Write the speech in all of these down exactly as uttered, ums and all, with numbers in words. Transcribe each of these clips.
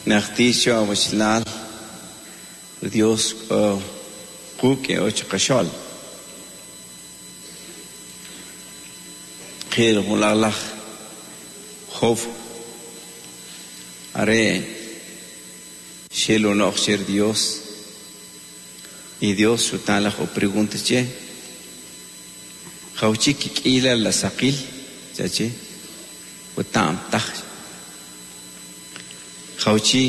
Nachtisho awashlal Dios kuke ochqashol khir mulalaj Job are shelo noxer Dios y Dios sutalaj o pregunta che jauchi kikila la saqil chache utam taj jauchi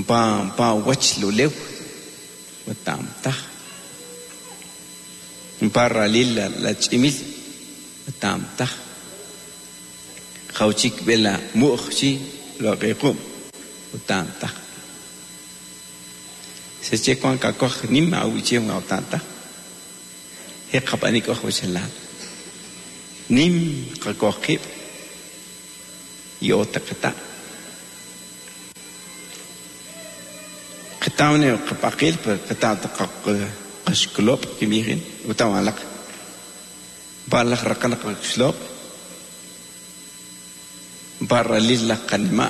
pa pa wach lulew utam taj pa ralil la, la chimil utam taj jauchi bela mu'chi lo qequm utam taj se che kwan kakoj nim awiche utam taj he qapanik oj wachalal nim qakojqib y otaqata qatawne qapaqil qata qashklop kimijin utawalaq balaq raqalaq qashlop barralil la qanima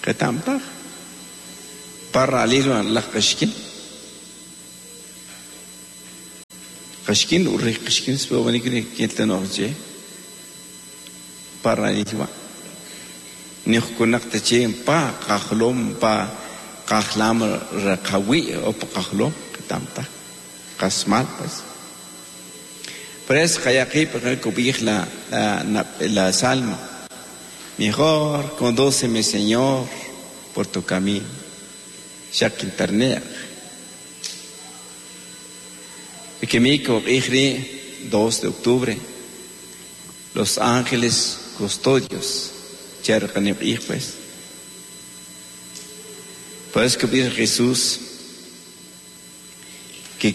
qatamtaq barralil la qashkin qashkin urri qashkin sbobanikri keltanoqche barralil wa nixkunaqta che pa qajlom pa qajlam raqawi o pa qajlom qatamtaq qasmal pues. Por eso qayaqi kubij la la la salmo. Mejor condúceme, Señor, por tu camino. Shak internet. Ikemiko ijri dos de octubre. Los ángeles custodios. Pues. Por eso que Jesús que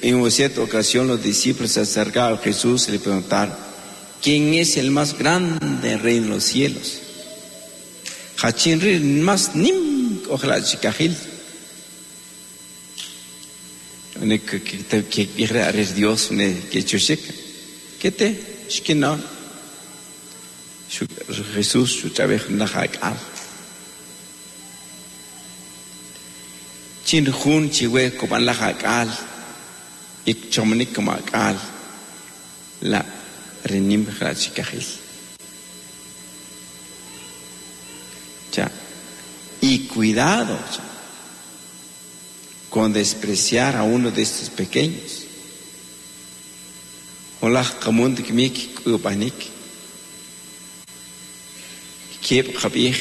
en una cierta ocasión los discípulos se acercaron a Jesús y le preguntaron: ¿quién es el más grande en reino de los cielos? Hachinri más nim ojalá chikajil. Que Dios que chushik. ¿Qué te? Shkina. Jesús chuchabej najak al. Chin jun chiwe koban lajak al. Ik chomnik komak al. La renim jrachikajil. Ya. Y cuidado ya, con despreciar a uno de estos pequeños. Hola kamunt kmik kubanik. Kep khabih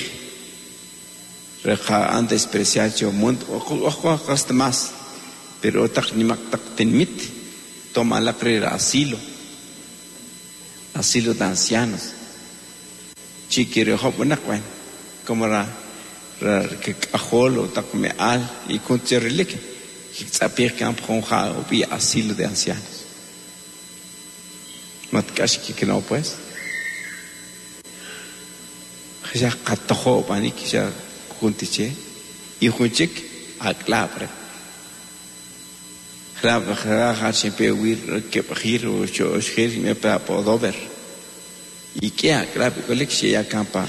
reqa an despreciar yo mundo ojo hasta más pero tak nimak tak tenmit toma la pre asilo asilo de ancianos chiquiro hop como ra que ajolo tak meal y con cherlik que campo o bi asilo de ancianos matkash que no pues ya qatojo panik ya juntiche y junchik aklabre xlab xra siempre wir que gir o xer me pa podover y que aklabre colección ya campa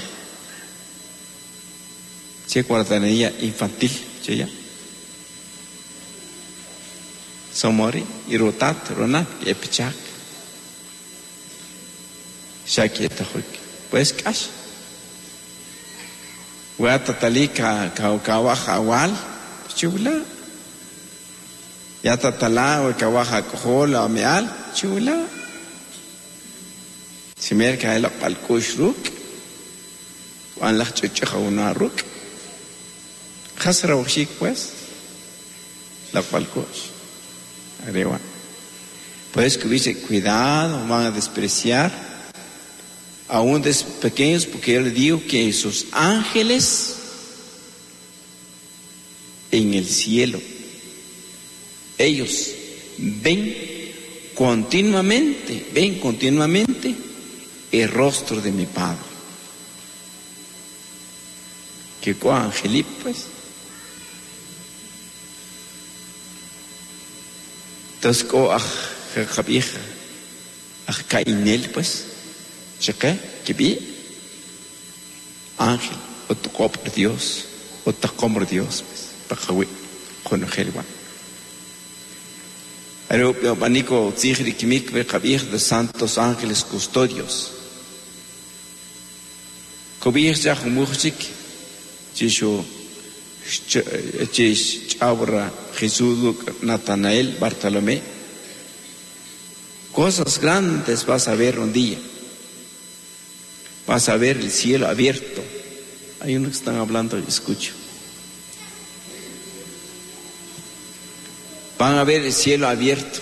che guardanería infantil che ya somori y rotat ronat y epichak shakietajuk pues cash Watatali ka ka awal chula ya tatala o kawaja kojola meal chula simer ka el palkush ruk wan laj chuchaja una ruk khasra wshik pues la palkush arriba pues que dice cuidado van a despreciar aún de pequeños, porque yo le digo que sus ángeles en el cielo, ellos ven continuamente, ven continuamente el rostro de mi Padre. Que con angelip, pues. Entonces, ko aj aj kainel, pues. ¿Qué? ¿Qué vi? Ángel o toqob Dios o taqom Dios paqawi qonojel wa. Are ub'aniko tzij rikimik beqab'ij de santos ángeles custodios. Kob'ij cha jumuchik chishu chish chabra Jesús Natanael Bartolomé. Cosas grandes vas a ver un día. Vas a ver el cielo abierto. Hay unos que están hablando y escucho. Van a ver el cielo abierto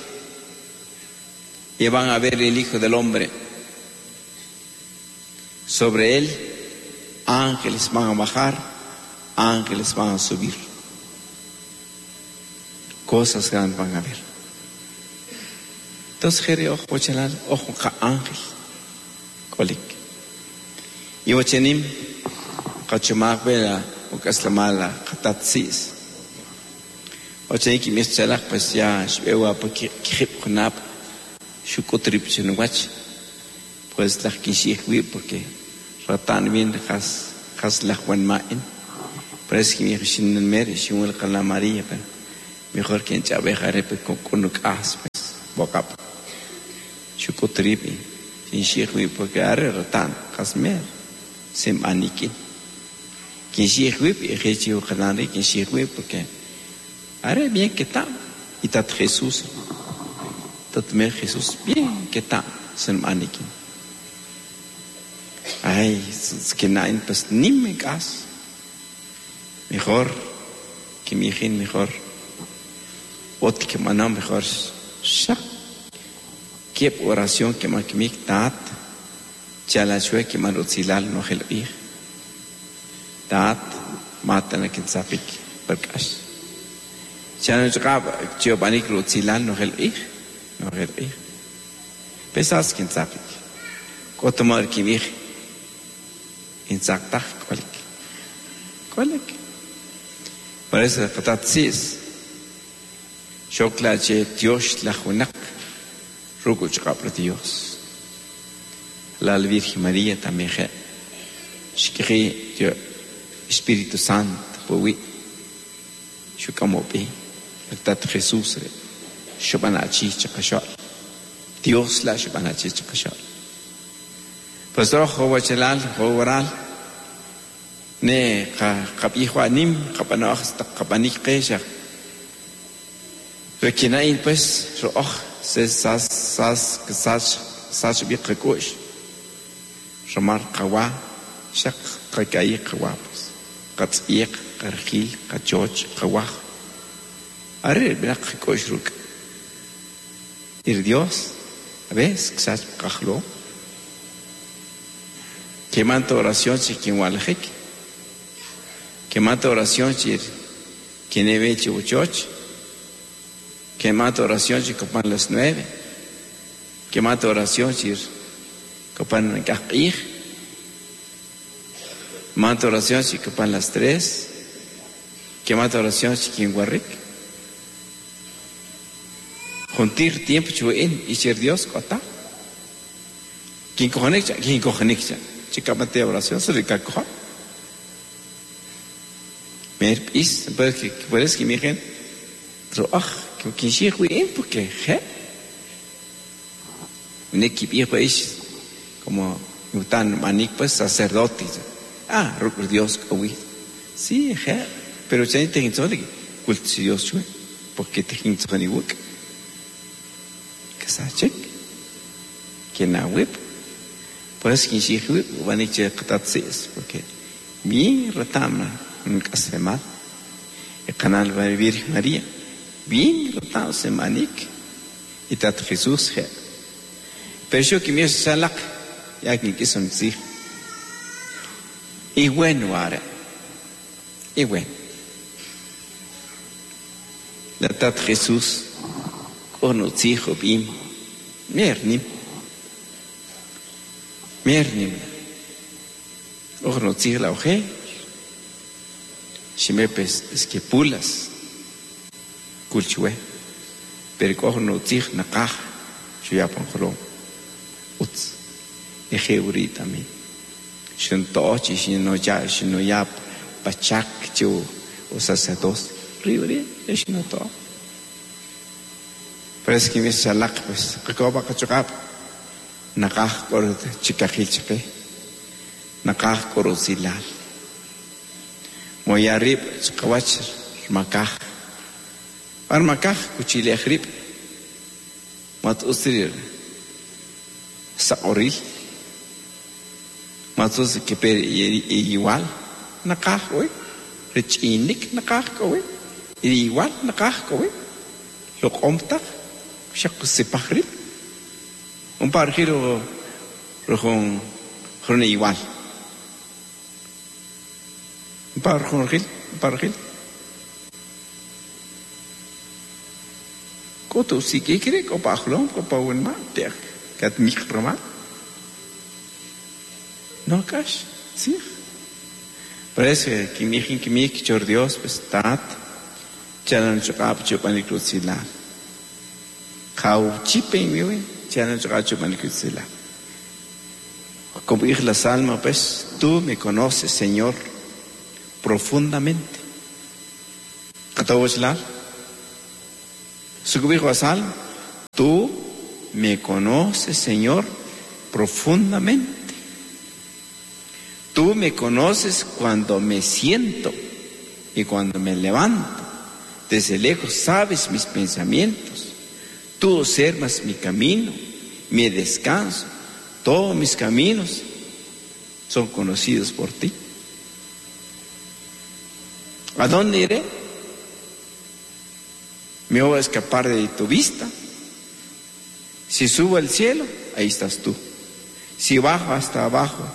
y van a ver el Hijo del Hombre. Sobre él ángeles van a bajar, ángeles van a subir. Cosas grandes van a ver. Entonces, jere ojo chalal, ojo ka ángel. Kolik. Y ochenim, kachumak bela, ukaslamala, katatsis. Ochenim ki mis chalak, pues ya, shbewa, pa kihip kunap, shukotrip chinuwach. Pues lach kinshihwi, porque ratan bien, has, has lach wan ma'in. Pero es que mi hija mer, shimul kala María, pero mejor que en chabeja repe con kunuk as, pues, bokap. Shukotripi, kinshihwi, porque arre ratan, has mer, sem anikin. Kinshihwi, y kalanri, kinshihwi, porque arre bien que está. Y tat Jesús, tat mer Jesús, bien que está, sem anikin. Ay, es que nain, pues ni me cas. Mejor que mi hija, mejor. Ot que maná, mejor. Shak. Qué oración que ma que mi tat. Chalachue que man utzilal no gel ij. Tat, matan a quien zapik, perkash. Chalachue que utzilal no gel ij. No gel ij. Pesas quien zapik. Kotomar que mi insaktach kolik. Kolik. Por eso katatsis. Shokla che Dios la junak. Rukuch kapra Dios. La Virgen María también je. Shkri Dios Espíritu Santo powi. Shukamopi. Tat Jesús re. Shubanachi chakashal. Dios la shubanachi chakashal. Pues rojo wachelal, jowaral, ne ka nim, kapanoj, kapanik kesha. Requinain pues, rojo, se sas, sas, sas, sas biqakush. Ramar kawa, shak kakai kawa, pues. Katsiek, kargil, kachoch, kawa. Arre, binak kush ruk. Ir Dios, a veces, sas kajlo. Que manta oración si quien walajik. Que manta oración si quien ve chibuchoch. Que manta oración si copan las nueve. Que manta oración si copan kajij. Manta oración si copan las tres. Que manta oración si quien guarrik. Juntir tiempo chuin y ser Dios kota. Quien cojonecha, quien cojonecha. Chica mate oración sobre cacoja. Mer is, pues que pues que miren, roaj, que quien sí porque je. Un equipo pues como tan manik pues sacerdote. Ah, Dios oí. Sí, je, pero ya te hinzole culto Dios chue, porque te hinzole wuk. Que sachek. Que na web. Por eso que porque bien retama nunca se mal. El canal va a Virgen María, bien retama se manik y tat Jesús. Pero yo que me salak ya que quiso decir. Y bueno ahora, y bueno. La tat Jesús conoció bien, mernim. Mernim. Ojo la oje. Shimepes esquipulas. Kulchue. Pero ojo no tzig nakaj. Shuyapan jolo. Utz. Eje uri también. Xinto'o chi xinoya xinoya pachak chu o sacerdote. Ri xinoto'o. Pero es que mi salak pues qakoba qachuqab naqaj k'or chikajil chaqe naqaj k'or usilal moya rib chqawach rmakaj par makaj kuchilej rib mat usrir saqoril mat us keper igual naqaj hoy rech'inik naqaj k'owi igual naqaj k'owi loq'omtaj xaq kusipaj rib un par giro rojón jun igual un par jun gil un par gil koto sikikre ko pajlom ko pawen ma te kat mikroma no kash sí parece que mi que mi chor Dios pues tat chalan chqap chupanik rutzila jau chipe mi chalan chqap chupanik rutzila. Como dijo la salma, pues, tú me conoces, Señor, profundamente. Tú me conoces, Señor, profundamente. Tú me conoces cuando me siento y cuando me levanto. Desde lejos sabes mis pensamientos. Tú observas mi camino, mi descanso. Todos mis caminos son conocidos por ti. ¿A dónde iré? Me voy a escapar de tu vista. Si subo al cielo, ahí estás tú. Si bajo hasta abajo,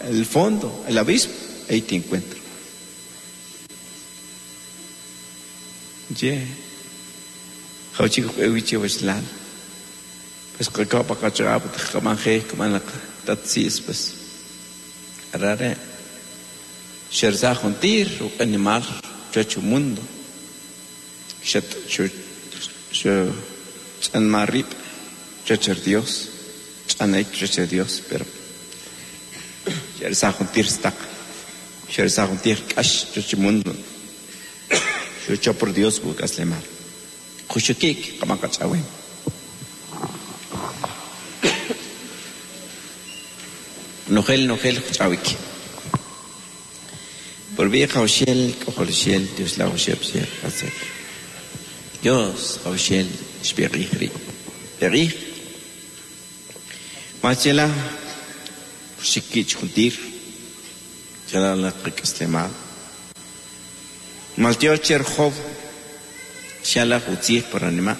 el fondo, el abismo, ahí te encuentro. Ye. Pues pues arare xerza juntir animal chacho mundo xat xo chanmarip chacher Dios chanek chacher Dios pero xerza juntir stak xerza juntir kash chacho mundo xo por Dios bukas lemar xushukik kamakachawin. Nogel, nogel, chawik. Por vieja Oshiel, Ojoloshiel, Dios la Oshiel, Hacer. Dios, Oshiel, Shberihri. Berih. Machela, Shikich Juntir, Chala la Rikaslemal. Maltio Cherjov, Shala Utzir por anima,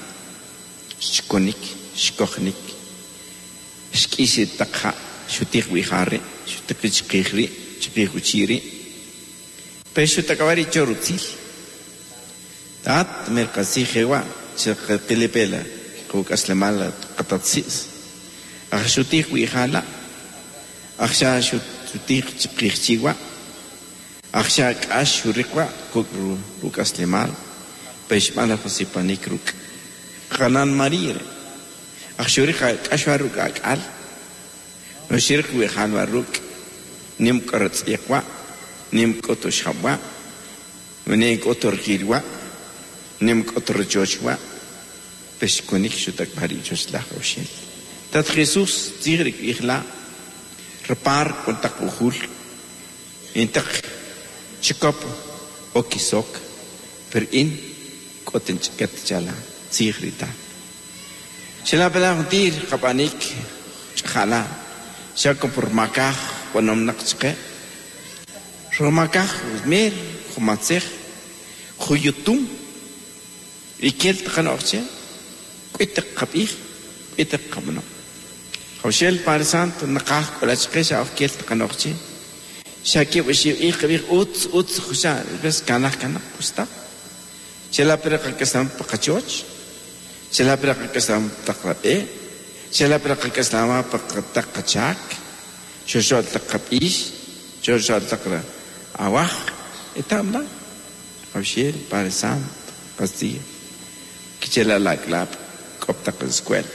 Shkonik, Shkochnik, Shkisi Takha. Shutik wihari, shutik chikri, chikri uchiri. Pero shutakawari chorutzil. Tat merkasi jewa, chikilipela, kukaslemala, katatsis. Ach shutik wihala, achsha shutik chikrichiwa, achsha kash shurikwa, kukru rukaslemal, peshmala josipanik ruk. Hanan marire, ach shurika kashwaruk akal. No shirk we han waruk nim karats iqwa nim koto shabwa nim koto rgilwa nim koto rjochwa peshkonik shutak bari joshla roshel tat Jesus tigrik ikhla repar kontak uhul intak chikop okisok per in koten chikat chala tigrita shela bela tir kapanik chala Shako por makaj, cuando nakchke. Romakaj, mer, jomatzej, joyutum. Y kel tqanoche, kuitek qabij, kuitek qabno. Joshel Padre Santo, nakaj, kolachke, shaf kel tqanoche. Shaki wishi iqbij uts uts josha, ves kanaj kanaj pusta. Shela pera kasam pakachoch. Shela pera kasam taqrabe. Shela pera kaslama pakataqachak. Shoshol taqabish, shoshol taqra awaj, etamla. Joshel Padre Santo, Castilla. Kichela la clap, coptaq escuela.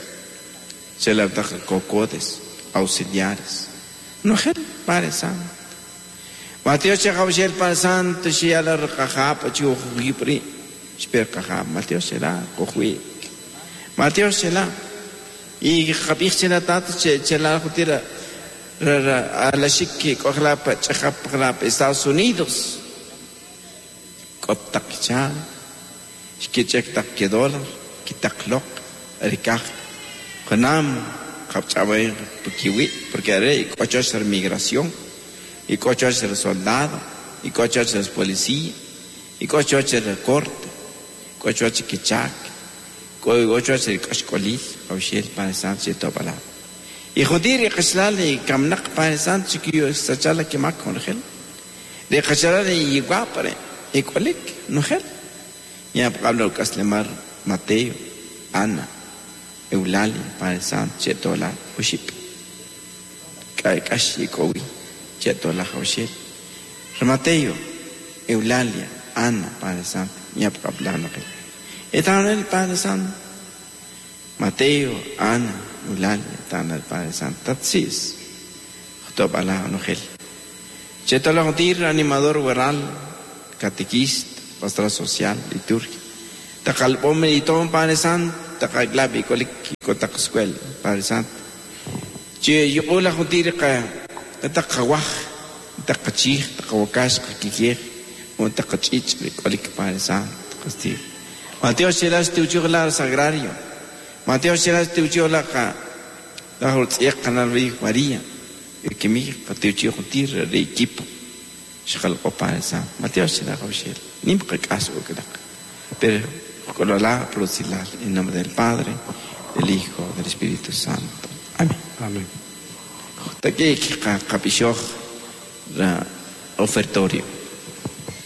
Chela taq cocotes, auxiliares. Nojel Padre Santo. Mateo Chajabshel Padre Santo, Shiala Rajapa, Chuhibri, Shper Kajab, Mateo Shela, Kohui. Mateo Shela. Y Jabich Shela Tata, Chela Jutira, a la Shiki, Kojlapa, Chajap, Estados Unidos. Kotakcha, Shkichek Taki dólar, Kitaklok, Rikaj, Konam, Kapchabay, Pukiwi, porque haré ocho hacer migración, y ocho hacer soldado, y ocho hacer policía, y ocho hacer corte, ocho hacer kichak, ocho hacer kashkolil, Jaushel, Padre Santo, y Topala. Y Jodir y Kashlal y Kamnak, Padre Santo, chiquillo, Sachala, Kimak, con Gel. De Kashlal y Guapare, y Kolik, no Gel. Ya hablo Kaslemar, Mateo, Ana, Eulalia, Padre Santo, Chetola, Uship. Kashi, Kowi, Chetola, Jaushel. Mateo, Eulalia, Ana, Padre Santo, ya hablo no Gel. Están el Padre Santo. Mateo, Ana, Eulalia, están el Padre Santo. Tatsis, Jotopala, Nogel. Chetola, Jotir, animador, guerral, catequista, pastoral social, liturgia. Takalpome y todo Padre Santo, takalklabi, kolik, kotak escuela, Padre Santo. Che, yo la Jotir, takawaj, takachij, takawakash, kakijej, o takachich, kolik, Padre Santo, castillo. Mateo Shelas Teuchiola Sagrario. Mateo Shelas Teuchiola la Holtziek Canal María. El que mi Teuchio Jotir de equipo. Shal Padre Santo. Mateo Shelas Rochel. Nimka caso que da. Pero con la prosilal en nombre del Padre, del Hijo, del Espíritu Santo. Amén. Amén. Taki kapishoj la ofertorio.